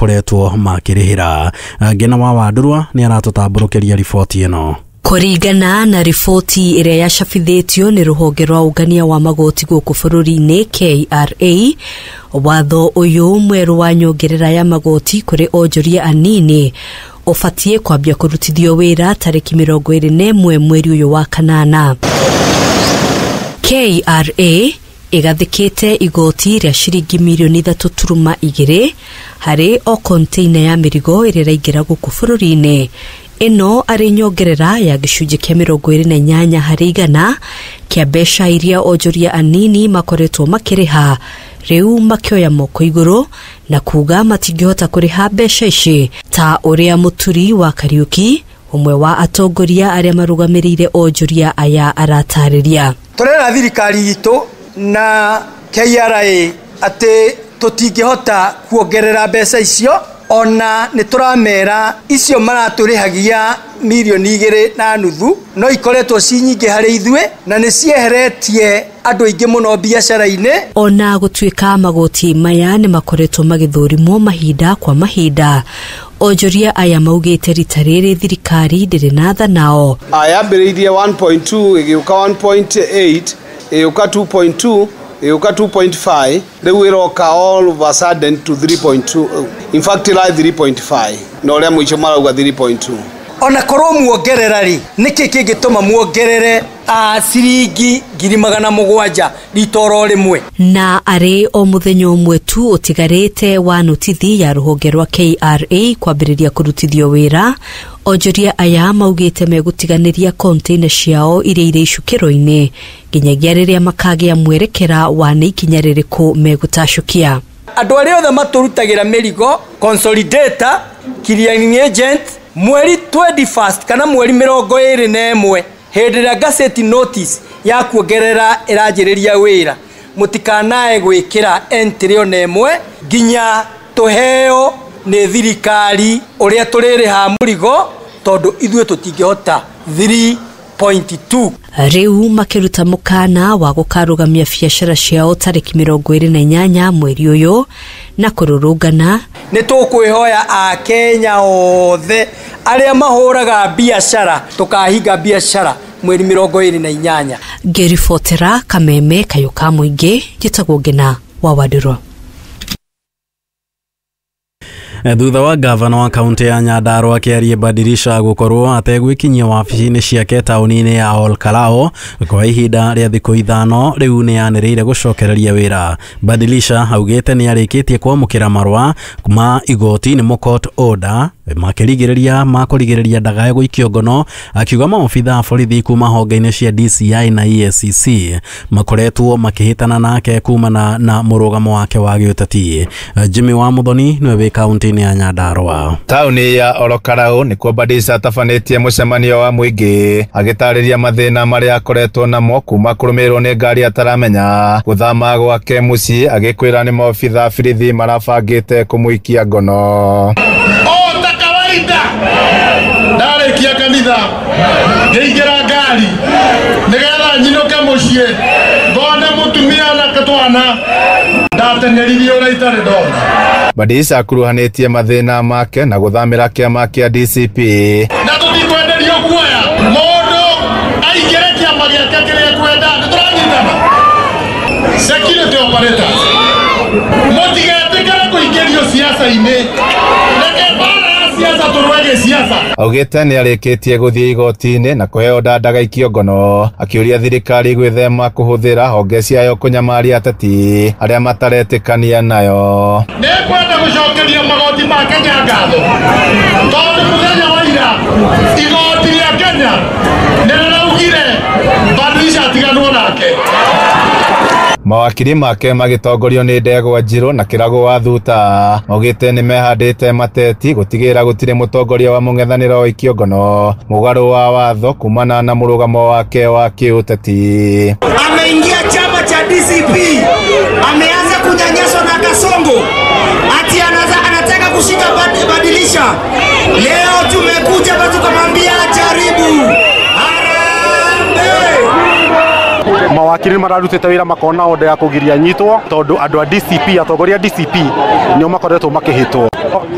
Koretwo makĩrĩhĩra. Ngena wa Wandurwa nĩ aratũtambũrũkĩria riboti ĩno. Kũringana na riboti ĩrĩa yacabithĩtio nĩ rũhonge rwa ũngania wa magoti gũkũ bũrũri-inĩ KRA, watho ũyũ mwerũ wa nyongerera ya magoti kũrĩ onjoria anini ũbatiĩ kwambia kũrutithio wĩra tarĩki 21 mweri ũyũ wa kanana. KRA ĩgathĩkĩte igoti rĩa ciringi mirioni 3.2 harĩ o container ya mĩrigo ĩrĩa ĩraingĩra gũkũ bũrũri-inĩ. Ĩno arĩ nyongerera ya gĩcunjĩ kĩa 28 harĩ igana kĩa mbeca iria onjoria anini makoretwo makĩrĩha, rĩu makĩoya moko igũrũ na kuga matingĩhota kũrĩha mbeca ici, ta ũrĩa Mũturi wa Kariuki, ũmwe wa atongoria arĩa marũgamĩrĩire onjoria aya, aratarĩria. Tũrera thirikari itũ na KRA atĩ tũtingĩhota kuongerera mbeca icio, ona nĩ tũramera icio maratũrĩhagia mirioni 2.5 no ikoretwo ci nyingĩ harĩ ithuĩ na nĩ cieheretie andũ aingĩ mũno biacara-inĩ. Ona gũtuĩka magoti maya nĩ makoretwo magĩthũrimwo mahinda kwa mahinda, onjoria aya maugĩte rita rĩrĩ thirikari ndĩrĩ na tha nao. Yambĩrĩirie 1.2 ĩgĩũka 1.8 ĩgĩũka 2.2 ĩgĩũka 2.5, rĩu ĩroka all of a sudden to 3.2, in fact ĩra 3.5 na ũrĩa mũico marauga 3.2. Ona korwo muongerera rĩ, nĩkĩ kĩngĩtũma muongerere ciringi 700,000 rita oro rĩmwe? Na arĩ o mũthenya ũmwe tu ũtigarĩte wa notithi ya rũhonge rwa KRA kwambĩrĩria kũrutithio wĩra, onjoria aya maugĩte megũtiganĩria container ciao iria irĩ icukĩro-inĩ nginyagia rĩrĩa makagĩa mwerekera wa nĩ ikinya rĩrĩkũ megũtacũkia. Andũ arĩa othe matũrutagĩra mĩrigo, consolidator, clearing agent, mweri 21 kana mweri 21 hĩndĩ ĩrĩa gazette notice ya kuongerera ĩranjĩrĩria wĩra, mũtikanae gwĩkĩra entry ona ĩmwe nginya tũheo nĩ thirikari ũrĩa tũrĩrĩha mũrigo, tondũ ithuĩ tũtingĩhota 3.2. Rĩu makĩruta mũkana wa gũkarũgamia biacara ciao tarĩki 28 mweri ũyũ na kũrũrũngana. Nĩ tũkwĩhoya Akenya othe arĩa mahũraga biacara tũkahinga biacara mweri 28. Ngĩribotera Kameme Kayũ ka Mũingĩ, njĩtagwo Ngena wa Wandũrwa. Thutha wa gavana wa kaunti ya Nyandarua akĩaria Badirisha gũkorwo ategwĩkinyia wabici-inĩ ciake taũni-inĩ ya Olkalao kwa ihinda rĩa thikũ 5, rĩu nĩ yanĩrĩire gũcokereria wĩra. Badirisha augĩte nĩ arĩkĩtie kwamũkĩra marũa ma igoti nĩmo court order makĩrigĩrĩria ma kũrigĩrĩria ndagae gũikio ngono, akiuga maobitha a borithi kuma honge-inĩ cia DCI na EACC makoretwo makĩhĩtana nake kumana na mũrũgamo wake wa gĩũteti. Jimmy wa Muthoni nĩwe wĩ kaunti-inĩ ya Nyandarua. Taũni ya Olokarau nĩkuo Badilisha atabanĩtie mũcemanio wa mũingĩ agĩtarĩria mathĩna marĩa akoretwo namo kuma kũrũmĩrĩrwo nĩ ngari ataramenya, gũthama gwake mũciĩ agĩkwĩra nĩ maobitha a borithi marabangĩte kũmũikia ngono. Kawaida ndarĩkia kanitha ngĩingĩra ngari nĩgetha nyinũke mũciĩ ngone mũtumia na twana ndateneririe ũrĩa itarĩ ndona. Badilisha akuruhanĩtie mathĩna make na gũthamĩra kĩama kĩa DCP. Na tũtikwenderio guoya, mũndũ aingĩre kĩama gĩake kĩrĩa ekwenda, nĩtũranyitana. Security operators, mũtigetĩkĩre kũingĩrio siasa-inĩ, reke mbara ya siasa tũrũe gĩsiasa. Augĩte nĩ arĩkĩtie gũthiĩ igoti-inĩ na kũheo nda ndagaikio ngono, akĩũria thirikari gwĩthema kũhũthĩra honge ciayo kũnyamaria ateti arĩa mataretĩkania nayo. Nĩngwenda gũcokeria magoti ma Kenya ngatho tondũ mũthenya wa ira igoti rĩa Kenya nĩrĩraugire Badilisha atiganwo nake. Mawakiri make magĩtongorio nĩ Ndegwa Njirũ na Kĩragũ wa Thuta maugĩte nĩ mehandĩte mateti gũtigĩrĩra gũtirĩ mũtongoria wa mũng'ethanĩro waikio ngono mũgarũ wa watho kumana na mũrũgamo wake wa kĩũteti. Ameingia chama cha DCP, ameanza kunyanyaswa na Kasongo, ati anataka kushika Badilisha. Leo tumekuja hapa tukamwambia jaribu. Harambee! Mawakiri mararutĩte wĩra makona order ya kũgiria nyitwo tondũ andũ a DCP, atongoria a DCP nĩo makoretwo makĩhĩtwo.